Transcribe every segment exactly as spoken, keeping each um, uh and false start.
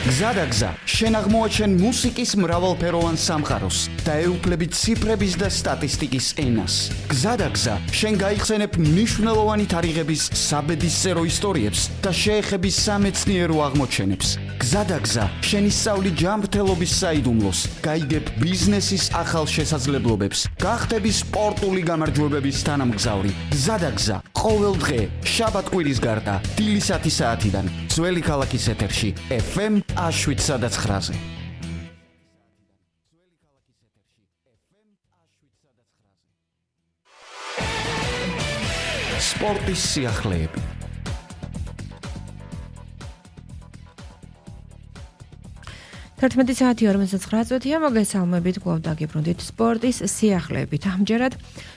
გზადაგზა, შენ აღმოაჩენ მუსიკის მრავალფეროვან სამყაროს და ეუფლები ციფრების და სტატისტიკის ენას. გზადაგზა, შენ გაიხსენებ მნიშვნელოვანი თარიღების საბედისწერო ისტორიებს და შეეხები სამეცნიერო აღმოჩენებს. გზადაგზა, შენ ისწავლი ჯანმრთელობის საიდუმლოს, გაიგებ ბიზნესის ახალ შესაძლებლობებს, გახდები სპორტული გამარჯვებების თანამგზავრი. გზადაგზა, ყოველ დღე, შაბათ-კვირის გარდა, დილისათი საათიდან, ძველი ქალაქის ეთერში, ეფ ემ შვიდ სადაც ხრაზე. სპორტის სიახლეები. თერთმეტი საათი ორმოცდათხმეტ წუთია, მოგესალმებით, კვლავ დაგიბრუნდით სპორტის სიახლეებით. ამჯერად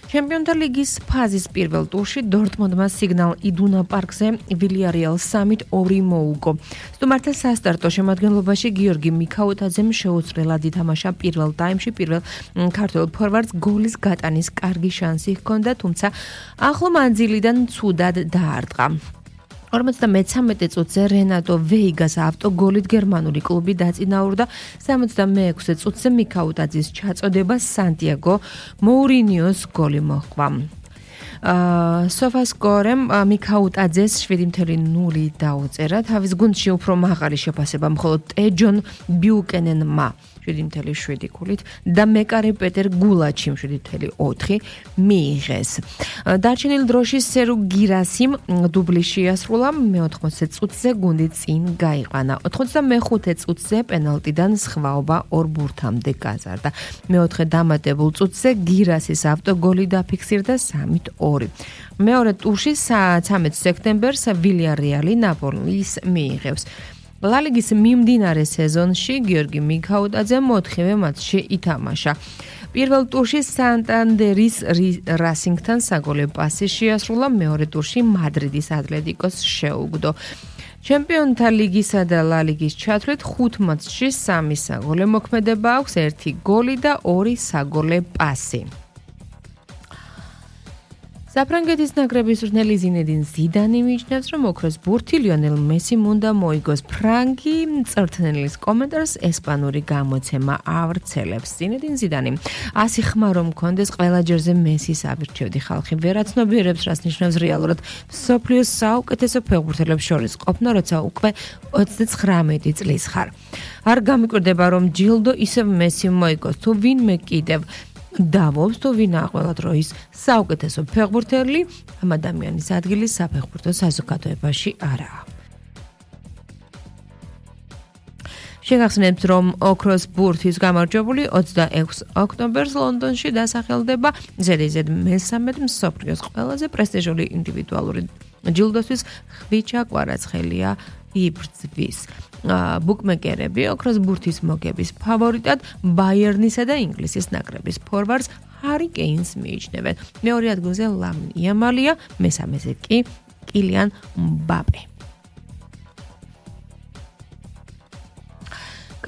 ჩემპიონთა ლიგის ფაზის პირველ ტურში დორტმუნდმა სიგნალ იდუნა პარკზე ვილიარეალს სამით ორი მოუგო. სტუმართა სასტარტო შემადგენლობაში გიორგი მიქაუტაძემ შეუცვლელად ითამაშა პირველ ტაიმში, პირველ ქართველ ფორვარდს გოლის გატანის კარგი შანსი ჰქონდა, თუმცა ახლო მანძილიდან ცუდად დაარტყა. ორმოცდამეცამეტე წუთზე რენატო ვეიგას ავტოგოლით გერმანული კლუბი დაწინაურდა. სამოცდამეექვსე წუთზე მიქაუტაძის ჩაწოდება სანტიაგო მოურინიოს გოლი მოჰყვა. სოფასკორემ მიქაუტაძეს შვიდი ნული დაუწერა. თავის გუნდში უფრო მაღალი შეფასება მხოლოდ ტეჯონ ბიუკენენმა შვიდი შვიდი ქულით და მეკარე პეტერ გულაჩიმ შვიდი ოთხი მიიღეს. დარჩენილ დროში სერუ გირასიმ დუბლი შეასრულა. მეოთხმოცდე წუთზე გუნდი წინ გაიყვანა. ოთხმოცდამეხუთე წუთზე პენალტიდან სხვაობა ორ ბურთამდე გაზარდა. მეოთხე დამატებულ წუთზე გირასის ავტოგოლი დაფიქსირდა სამით ორი. მეორე ტურში ცამეტ სექტემბერს ვილიარეალი ნაპოლის მიიღებს. ლა ლიგის მიმდინარე სეზონში გიორგი მიქაუტაძემ ოთხივე მატჩში ითამაშა. პირველ ტურში სანტანდერის რასინგთან საგოლე პასი შეასრულა, მეორე ტურში მადრიდის ატლეტიკოს შეუგდო. ჩემპიონთა ლიგისა და ლა ლიგის ჩათვლით ხუთ მატჩში სამი საგოლე მოქმედება აქვს, ერთი გოლი და ორი საგოლე პასი. საფრანგეთის ნაკრების მწვრთნელი ზინედინ ზიდანი მიიჩნევს, რომ ოქროს ბურთი ლიონელ მესიმ უნდა მოიგოს. ფრანგი მწვრთნელის კომენტარს ესპანური გამოცემა ავრცელებს. ზინედინ ზიდანი ასი ხმა რომ მქონდეს, ყველა ჯერზე მესის ავირჩევდი. ხალხი ვერაცნობიერებს, რას ნიშნავს რეალურად მსოფლიოს საუკეთესო ფეხბურთელებს შორის ყოფნა, როცა უკვე ოცდაცხრამეტი წლის ხარ. არ გამიკვირდება, რომ ჯილდო ისევ მესიმ მოიგოს, თუ ვინმე კიდევ დავობს, თუ ვინა ყველა დროის საუკეთესო ფეხბურთელი, ამ ადამიანის ადგილი საფეხბურთო საზოგადოებაში არაა. შეგახსენებთ, რომ ოქროს ბურთის გამარჯვებული ოცდაექვსი ოქტომბერს ლონდონში დასახელდება ზედიზედ მესამედ მსოფლიოს ყველაზე პრესტიჟული ინდივიდუალური ჯილდოსთვის ხვიჩა კვარაცხელია იბრძვის. ბუკმეკერები ოქროს ბურთის მოგების ფავორიტად ბაიერნისა და ინგლისის ნაკრების ფორვარდს ჰარი კეინს მიიჩნევენ. მეორე ადგილზე ლამინ იამალია, მესამეზე კი კილიან მბაპე.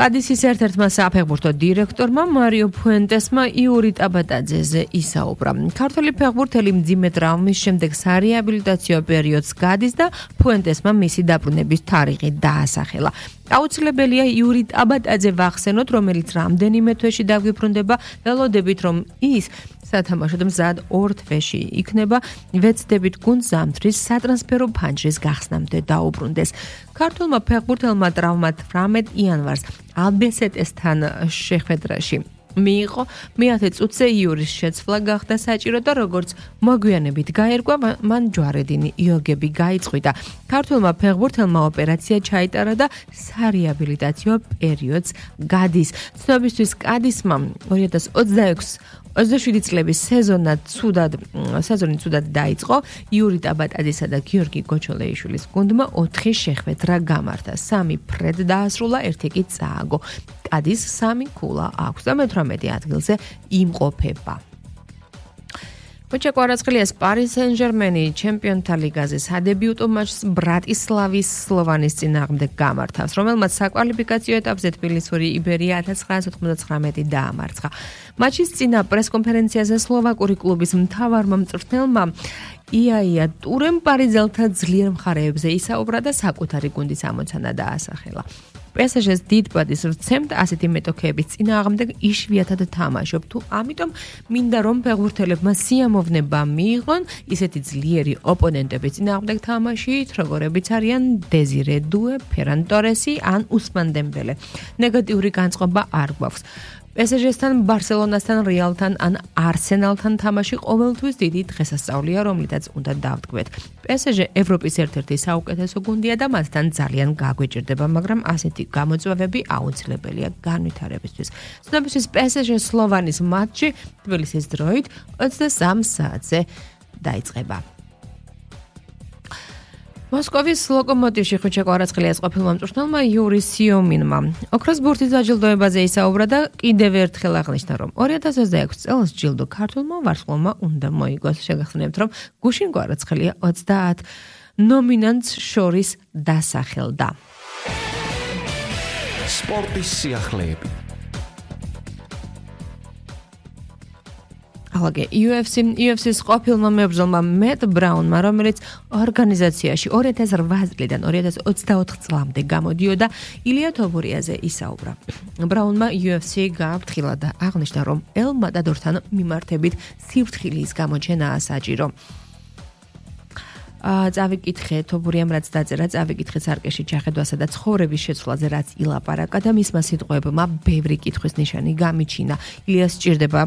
კადისის ერთ-ერთმა საფეხბურთო დირექტორმა მარიო ფუენტესმა იური ტაბატაძეზე ისაუბრა. ქართველი ფეხბურთელი მძიმე ტრავმის შემდეგ სარეაბილიტაციო პერიოდს გადის და ფუენტესმა მისი დაბრუნების თარიღი დაასახელა. აუცილებელია იური ტაბატაძე ვახსენოთ, რომელიც რამდენიმე თვეში დაგვიბრუნდება, ველოდებით, რომ ის სათამაშოდ მზად ორ თვეში იქნება, ვეცდებით გუნდს ზამთრის სატრანსფერო ფანჯრის გახსნამდე დაუბრუნდეს. ქართულმა ფეხბურთელმა ტრავმა თვრამეტ იანვარს ალბესეტესთან შეხვედრაში მიიღო. მეათე წუთზე იურის შეცვლა გახდა საჭირო და როგორც მოგვიანებით გაერკვა, მან ჯვარედინი იოგები გაიწყვიტა. ქართულმა ფეხბურთელმა ოპერაცია ჩაიტარა და სარეაბილიტაციო პერიოდს გადის. ცნობისთვის კადისმა ორი ათას ოცდაექვსი ოცდაშვიდი წლების სეზონა ცუდად სეზონი ცუდად დაიწყო. იური ტაბატაძისა და გიორგი გოჩოლეიშვილის გუნდმა ოთხი შეხვედრა გამართა. სამი ფრედ დაასრულა, ერთი კი წააგო. კადის სამი ქულა აქვს და მეთვრამეტე ადგილზე იმყოფება. მოჩა კვარაცხელიას პარი სენ-ჟერმენი ჩემპიონთა ლიგაზე სადებიუტო მატჩს ბრატისლავის სლოვანის წინააღმდეგ გამართავს, რომელმაც საკვალიფიკაციო ეტაპზე თბილისური იბერია ათას ცხრაასი ოთხმოცდათხრამეტი დაამარცხა. მატჩის წინა პრესკონფერენციაზე სლოვაკური კლუბის მთავარმა მწვრთნელმა იაია ტურემ პარიზელთა ძლიერ მხარეებზე ისაუბრა და საკუთარი გუნდის ამოცანა დაასახელა. პესეჟეს დიდ ბადის ვცემთ ასეთი მეტოქეების წინააღმდეგ იშვიათად თამაშობ თუ ამიტომ მინდა რომ ფეხბურთელებმა სიამოვნება მიიღონ ისეთი ძლიერი ოპონენტების წინააღმდეგ თამაშით როგორებიც არიან დეზირე დუე, ფერან ტორესი ან უსმან დემბელე. ნეგატიური განწყობა არ გვაქვს. პესეჟესთან, ბარსელონასთან, რეალთან ან არსენალთან თამაში ყოველთვის დიდი დღესასწაულია, რომლითაც უნდა დავთქვეთ. პესეჟე ევროპის ერთ-ერთი საუკეთესო გუნდია და მათთან ძალიან გაგვეჭირდება, მაგრამ ასეთი გამოწვევები აუცილებელია განვითარებისთვის. ცნობისთვის პესეჟეს სლოვანის მატჩი თბილისის დროით ოცდასამ საათზე დაიწყება. მოსკოვის ლოკომოტივში ხვიჩე კვარაცხელიას ყოფილმა მწვრთნელმა იური სიომინმა ოქროს ბურთის დაჯილდოებაზე ისაუბრა და კიდევ ერთხელ აღნიშნა, რომ ორი ათას ოცდაექვსი წელს ჯილდო ქართულმა ვარსკვლავმა უნდა მოიგოს. შეგახსენებთ, რომ გუშინ კვარაცხელია ოცდაათ ნომინანტს შორის დასახელდა. სპორტის სიახლეები. ახლა იუ ეფ სი იუ ეფ სის ყოფილმა მებრძოლმა მეტ ბრაუნმა, რომელიც ორგანიზაციაში ორი ათას რვაას წლიდან ორი ათას ოცდაოთხ წლამდე გამოდიოდა, ილია თობურიაზე ისაუბრა. ბრაუნმა იუ ეფ სი გააფრთხილა და აღნიშნა, რომ ელ მატადორთან მიმართებით სიფრთხილის გამოჩენაა საჭირო. წავიკითხე თობურიამ რაც დაწერა, წავიკითხე სარკეში ჩახედვასა და ცხოვრების შეცვლაზე რაც ილაპარაკა და მისმა სიტყვებმა ბევრი კითხვის ნიშანი გამიჩინა. ილიას სჭირდება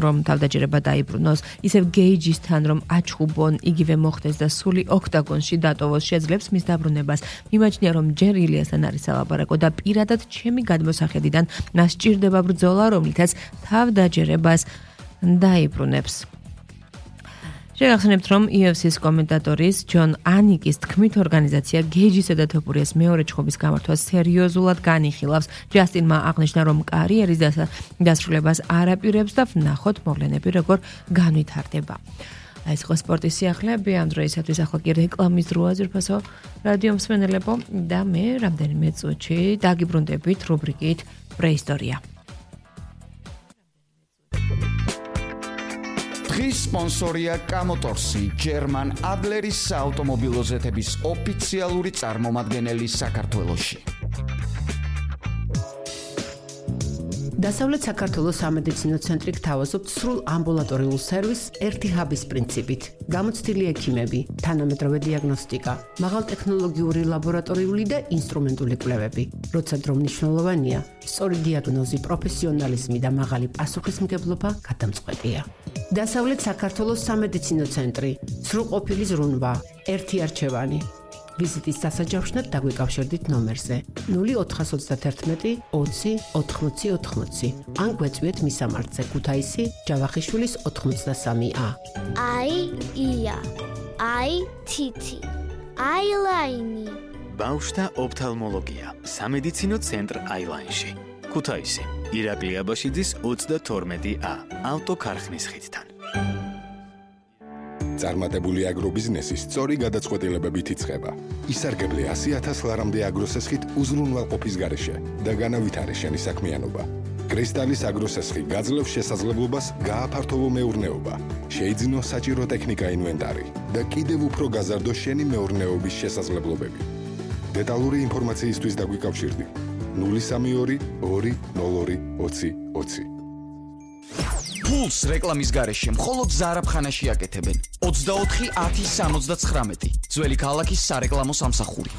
რომ თავდაჯერება დაიბრუნოს, ისევ გეიჯისთან რომ აჩხუბონ, იგივე მოხდეს და სული ოქტაგონში დატოვოს შეძლებს მის დაბრუნებას. მიმაჩნია რომ ჯერ ილიასთან არის სალაპარაკო და პირადად ჩემი გადმოსახედიდან მას სჭირდება ბრძოლა, რომლითაც თავდაჯერებას დაიბრუნებს. შეგახსენებთ, რომ იუ ეფ სის კომენტატორის ჯონ ანიკის თქმით, ორგანიზაცია გეიჯისა და თობურიას მეორე ჩხუბის გამართვას სერიოზულად განიხილავს. ჯასტინმა აღნიშნა, რომ კარიერის დასრულებას არ აპირებს და ვნახოთ მოვლენები როგორ განვითარდება. ეს იყო სპორტის სიახლეები, ამ დროისათვის ახლა კი რეკლამის დროა, ძვირფასო რადიო მსმენელებო და მე რამდენიმე წუთში დაგიბრუნდებით რუბრიკით პრეისტორია. დღის სპონსორია კამოტორსი, ჯერმან ადლერის საავტომობილო ზეთების ოფიციალური წარმომადგენელი საქართველოში. დასავლეთ საქართველოს სამედიცინო ცენტრი გთავაზობთ სრულ ამბულატორიულ სერვისს ერთი ჰაბის პრინციპით. გამოცდილი ექიმები, თანამედროვე დიაგნოსტიკა, მაღალტექნოლოგიური ლაბორატორიული და ინსტრუმენტული კვლევები. როცა დრო მნიშვნელოვანია, სწორი დიაგნოზი, პროფესიონალიზმი და მაღალი პასუხისმგებლობა გადამწყვეტია. დასავლეთ საქართველოს სამედიცინო ცენტრი, სრულყოფილი ზრუნვა, ერთი არჩევანი. ვიზიტის დასაჯავშნად დაგვიკავშირდით ნომერზე ნული ოთხას ოცდაათი ოცი ოთხმოცი ოთხმოცი ან გვეწვიეთ მისამართზე ქუთაისი ჯავახიშვილის ოთხმოცდასამი ა. აი ია, აი თითი, აილაინი. ბავშვთა ოფთალმოლოგია, სამედიცინო ცენტრ აილაინში. ქუთაისი, ირაკლი აბაშიძის ოცდათორმეტი ა, ავტოქარხნის ხიდთან. წარმატებული აგრობიზნესი სწორი გადაწყვეტილებებით იწყება. ისარგებლე ასი ათას ლარამდე აგროსესხით უზრუნველყოფის გარეშე და განავითარე შენი საქმიანობა. კრისტალის აგროსესხი გაძლევს შესაძლებლობას გააფართოვო მეურნეობა, შეიძინო საჭირო ტექნიკა ინვენტარი და კიდევ უფრო გაზარდო შენი მეურნეობის შესაძლებლობები. დეტალური ინფორმაციისთვის დაგვიკავშირდი ნული სამი ორი ორი ნულ ორი ოცი ოცი. ფულს რეკლამის გარეშე მხოლოდ ზარაფხანაში აკეთებენ. ოცდაოთხი ათი სამოცდაცხრამეტი. ძველი ქალაქის სარეკლამო სამსახური.